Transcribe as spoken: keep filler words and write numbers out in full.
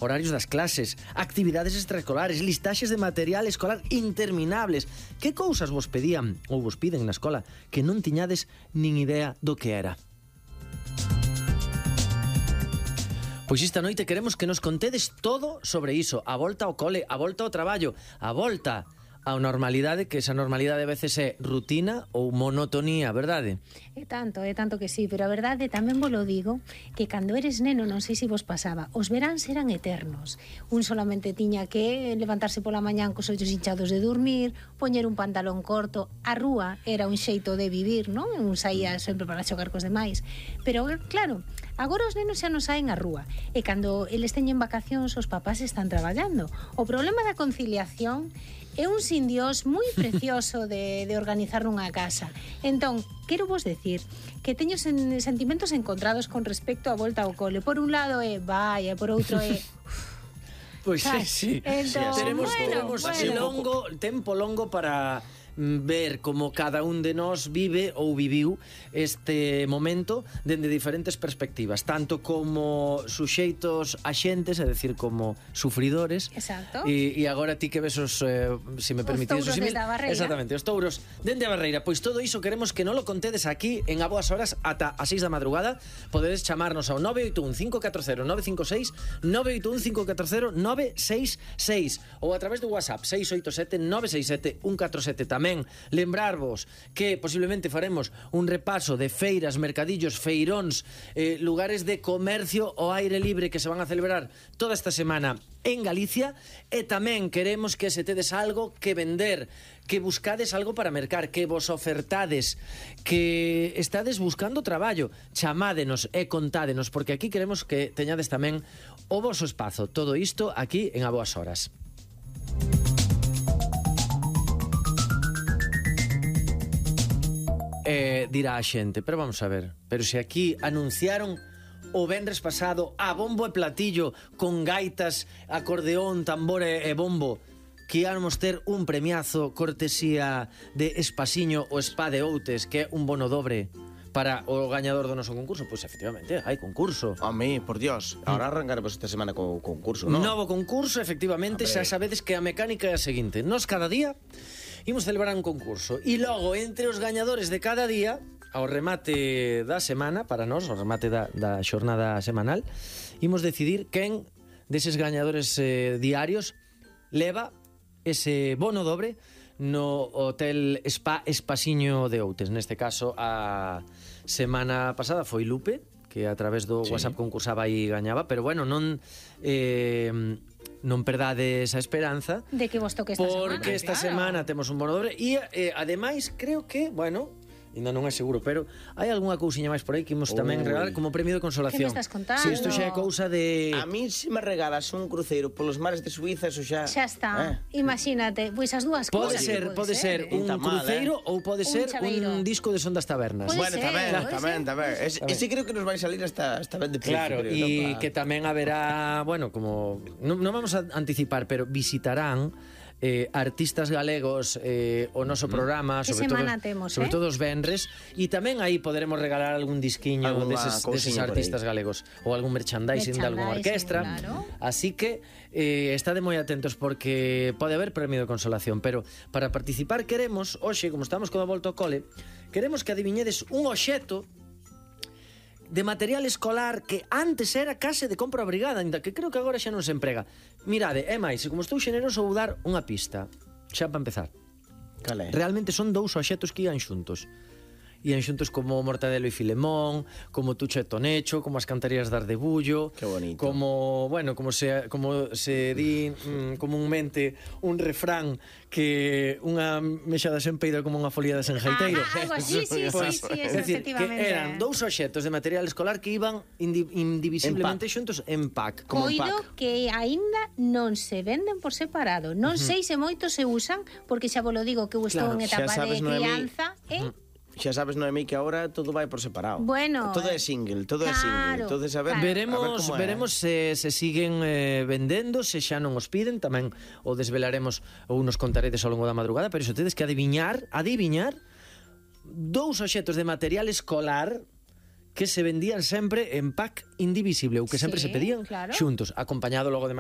horarios das clases, actividades extraescolares, listaxes de material escolar interminables. Que cousas vos pedían ou vos piden na escola que non tiñades nin idea do que era? Pois esta noite queremos que nos contedes todo sobre iso. A volta ao cole, a volta ao traballo, a volta a normalidade, que esa normalidade a veces é rutina ou monotonía, verdade? É tanto, é tanto que sí, pero a verdade tamén vos lo digo, que cando eres neno, non sei se vos pasaba, os veráns eran eternos. Un solamente tiña que levantarse pola mañán cos ollos hinchados de dormir, poñer un pantalón corto, a rúa era un xeito de vivir, non? Un saía sempre para xogar cos demais. Pero claro, agora os nenos xa non saen á rúa, e cando eles teñen vacacións os papás están traballando. O problema da conciliación é un sin Dios moi precioso de, de organizar nunha casa. Entón, quero vos decir que teño sen, sentimentos encontrados con respecto á volta ao cole. Por un lado é vai, e por outro é... Pois sí, sí. Entón, Teremos, bueno, teremos bueno. longo, tempo longo para ver como cada un de nós vive ou viviu este momento dende diferentes perspectivas, tanto como suxeitos axentes, é dicir, como sufridores. Exacto. E, e agora ti que ves os, eh, se me permitides touros desde a barreira. Exactamente, os touros dende a barreira. Pois todo iso queremos que non lo contedes aquí en A Boas Horas ata as seis da madrugada. Podedes chamarnos ao nove oito un cinco catro cero nove cinco seis, nove oito un cinco catro cero nove seis seis ou a través do WhatsApp seis oito sete nove seis sete un catro sete. Tamén lembrarvos que posiblemente faremos un repaso de feiras, mercadillos, feiróns, eh, lugares de comercio ao aire libre que se van a celebrar toda esta semana en Galicia, e tamén queremos que se tedes algo que vender, que buscades algo para mercar, que vos ofertades, que estades buscando traballo. Chamádenos e contádenos, porque aquí queremos que teñades tamén o voso espazo. Todo isto aquí en A Boas Horas. Eh, dirá a xente, pero vamos a ver, pero se aquí anunciaron o venres pasado a bombo e platillo con gaitas, acordeón, tambor e, e bombo, que íamos ter un premiazo cortesía de Espasiño o Spa de Outes, que é un bono dobre para o gañador do noso concurso. Pois efectivamente, hai concurso. A mí, por Dios, ahora arrancaremos esta semana co concurso, non? Novo concurso, efectivamente, xa sabedes que a mecánica é a seguinte: nos cada día imos celebrar un concurso e logo entre os gañadores de cada día, ao remate da semana, para nós, ao remate da, da xornada semanal, imos decidir quen deses gañadores eh, diarios leva ese bono dobre no Hotel Spa Espasiño de Outes. Neste caso, a semana pasada foi Lupe, que a través do sí. WhatsApp concursaba e gañaba, pero bueno, non eh, non perdades a esperanza de que vos toque esta semana. Porque esta claro. semana temos un bono dobre e eh, ademais creo que, bueno, ainda non é seguro, pero hai algunha cousiña máis por aí que imos tamén regalar como premio de consolación. Que me estás contando? Si, isto xa é cousa de... A mí se me regalas un cruceiro polos mares de Suiza, eso xa... Xa está, eh? Imagínate, pois as dúas Pode cousas. ser, pode ser un mal, cruceiro eh? ou pode Un ser chaveiro. un disco de Son das Tabernas. Puede Bueno, ser, tamén, puede tamén, ser. tamén. Es, ese creo que nos vai salir esta, esta vez de precio. Claro, creo, e ¿no? que tamén haberá, bueno, como non, non vamos a anticipar, pero visitarán eh, artistas galegos eh, o noso programa, Que sobre todo, semana temos, sobre eh? todo os venres, e tamén aí poderemos regalar algún disquiño Alguna deses, deses cousiña por artistas galegos ou algún merchandising, de algunha orquestra. Claro. Así que eh, estade moi atentos porque pode haber premio de consolación, pero para participar queremos, hoxe, como estamos con a volta ao cole, queremos que adiviñedes un obxecto de material escolar que antes era case de compra obrigada, ainda que creo que agora xa non se emprega. Mirade, é máis, como estou xeneroso vou dar unha pista, xa para empezar. Cal é? Realmente son dous obxectos que ian xuntos. Ian xuntos como Mortadelo e Filemón, como Tucho e Tonecho, como as cantarías de Ardebullo. Qué bonito. Como, bueno, como se, como se di mm, comúnmente un refrán que unha mexada sen peido como unha folía de sen jaiteiro. Ah, algo así, sí, Pues, sí, sí, es eso, decir, que efectivamente. eran dous obxectos de material escolar que iban indi indivisiblemente En xuntos en pack. como un Coido pack. que aínda non se venden por separado. Non sei se moitos se usan, porque xa vos lo digo que eu estou Claro, en xa etapa sabes, de Noemí. crianza, eh? Xa sabes, Noemí, que agora todo vai por separado. Bueno, todo é single, todo é single. claro, Entonces, a ver, claro. Veremos, a ver como é. veremos se, se siguen eh, vendendo, se xa non os piden, tamén o desvelaremos ou nos contaredes ao longo da madrugada, pero iso tedes que adiviñar, adiviñar dous obxectos de material escolar que se vendían sempre en pack indivisible ou que sempre Sí, se pedían claro. xuntos, acompañado logo de